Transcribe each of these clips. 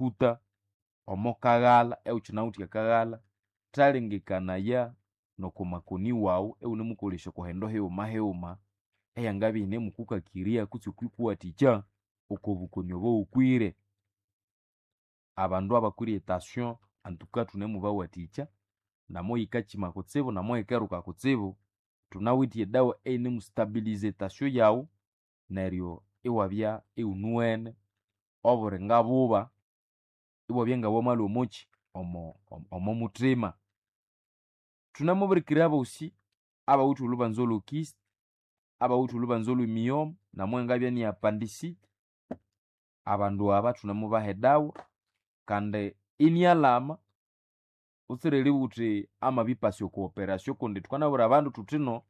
Kuta omo kaghala eukinawithe akaghalha, thalengekanaya noko makoni wawu ewunemukolesya oko hindu highuma highuma eyangabya iyinemukukakirya kutse okwikuwathikya oko bukoni obo wukwire. Abandu abakwire etension antuka thunemubawathikya namoyikakyima kutsibu namoyikeruka kutsibu, thunawithe edawa eyinemustabiliza etension yawu neryo iwabya iwunuwene obulinga buba iwabya ngawamalhwa omokyi omo omomuthima. Thunamubirikira abosi abawithe olhubanza olhokist, abawithe olhubanza olhwemiyoma namwangabya ni appendicite, abandu aba thunemubaha edawa kandi inialhama wutsire eribugha wuthi amabipasa oko operation kundi thukanabwira abandu thuthino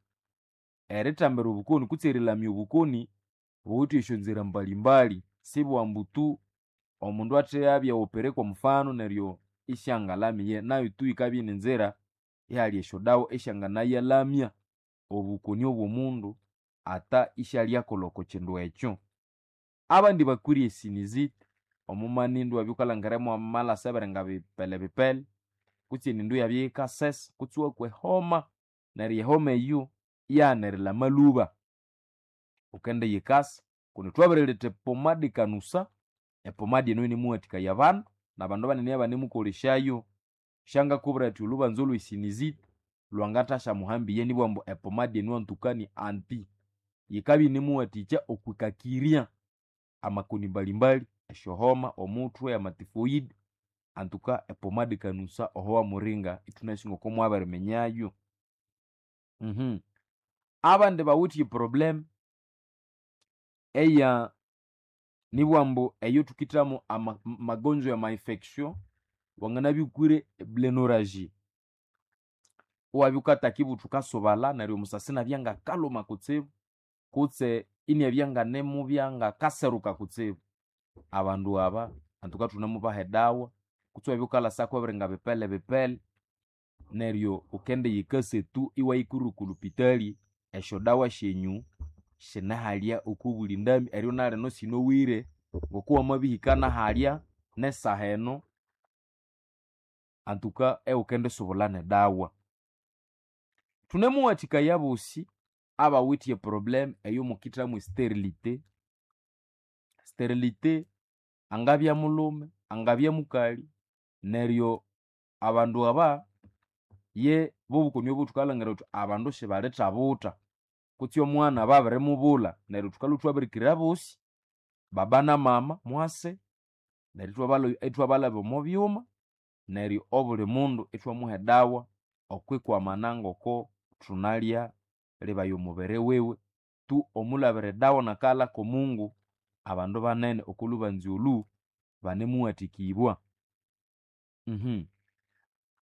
erithambira obukoni kutse erilamya obukoni buwithe esyonzira mbalimbali, sibwambu tu omundu athiyabya opere kwa mfano neryo isyangalamiye, nayo tu yikabya ini nzira ihali esyodawa esyanganayalamya obukoni obw'omundu ata isyalyakolha oko kindu ekyo. Abandi bakwire esinizite, omumanindu iwabya wukalhangira mwamalhasa ebiringa bipele bipele kutse enindu iyabya yikasesa kutse iwakwa ehoma neryo ehoma eyo iyaghana erilhama lhuba, wukendiyikasa kundi thwabiriletha epomadi kanusa, epomadi eno yinemuwathikaya abandu nabandu banene abanemukolesyayo. Syangakubwira athi olhubanza olwesinizite lwangathasyamuhambiye nibughambu ambu epomadi eno antuka ni anti, yikabya yinemuwathikya okwikakirya amakoni mbalimbali, esyohoma, omuthwe, amatifoidi, antuka epomadi kanusa oho wamuringa ithunasi ngoko mwabiriminyayo. Abandi bawithe eproblem eya nibugha ambu eyo thukithamu ama magonjwa ama infection, wanganabya wukwire eblenorrhagia, iwabya wukataka ibutha wukasubalha neryo omusasi inabya ngakalhuma kutsibu kutse inabya nganemubya ngakaseruka kutsibu. Abandu aba antuka thunemubaha edawa kutse iwabya wukalhasako ebiringa bipele bipele neryo wukendiyikasa tu iwayikwira oko lhupitali, esyodawa syenyu sinehalya oko buli ndambi eryo nalino sinowire ngoko wamabihika nahalya nesaha eno antuka iwukendisubulha nedawa. Thunemuwathikaya abosi abawithe eproblem eyomukithamu esterility, sterility angabya mulhume, angabya mukali, neryo abandu aba ye bobukoni obo thukalhangira thuthi abandu sibalithabutha kutse omwana babirimubulha neryo thukalhwa ithwabirikira abosi baba na mama mwase neryo ithwabalhabya omo byuma neryo obuli mundu ithwamuha edawa okwikwamana ngoko thunalya libaya omubiri wiwe tu omulhabira edawa nakaghalha k'omungu abandu banene oko lhubanza olhu banemuwathikibwa.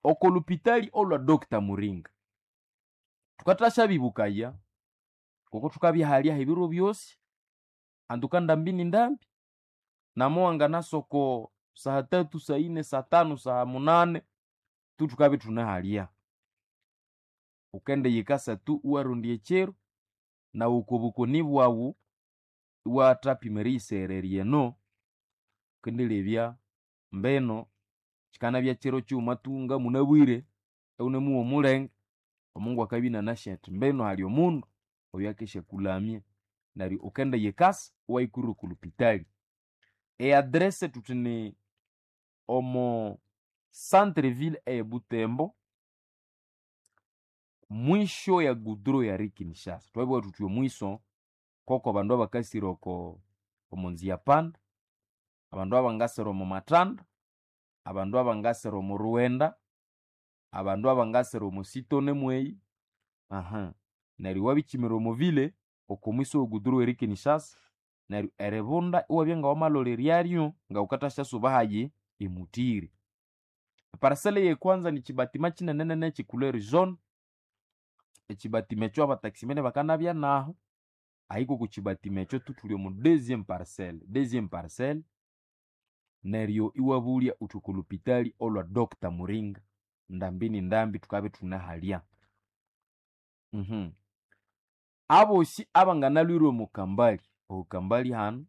Oko lhupitali olhwa Doctor Muringa thukathasya ngoko thukabya halya ebiro byosi antuka ndambi ni ndambi namuwanganasa oko saha tatu, saine, satano, saha munane tu thukabya ithunehalya. Wukendiyikasa tu iwarondya ekyiro nawu oko bukoni bwawu iwathapima eriyisehererya eno wukendilebya mbino kyikanabya kyiro kyighuma tu ngamunabwire iwunemuwa omulenge, omungu akabya inanasi athi mbino hali omundu oyukakesyakulamya neryo wukendiyikasa iwayikwira oko lhupitali. E address thuthi ni omo centre ville eye Butembo mwisho ya goudron ya rue Kinshasa. Thwabugha thuthi omwiso koko abandu abakasira oko omo nzia panda, abandu abangasira omo mathanda, abandu abangasira omo rughenda, abandu abangasira omo sitone mweyi, neryo iwabikyimira omo ville oko mwiso we goudron eri Kinshasa neryo eribunda iwabya ngawamalholeryaryo ngawukathasyasuba hayi emutiri. Eparcel eyekwanza nikyibatima kyinenenene ekye couleur jaune, ekyibatima ekyo abataximene bakanabya nahu, ahiko oko kyibatima ekyo tu thuli omo deuxième parcel, deuxième parcel neryo iwabulya wuthi oko lhupitali olhwa Doctor Muringa ndambi ni ndambi thukabya ithunehalya. Abosi abanganalhwire omo kambali, oho kambali hanu,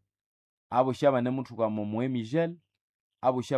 abosi abanemuthuka omo emigel, Abosi.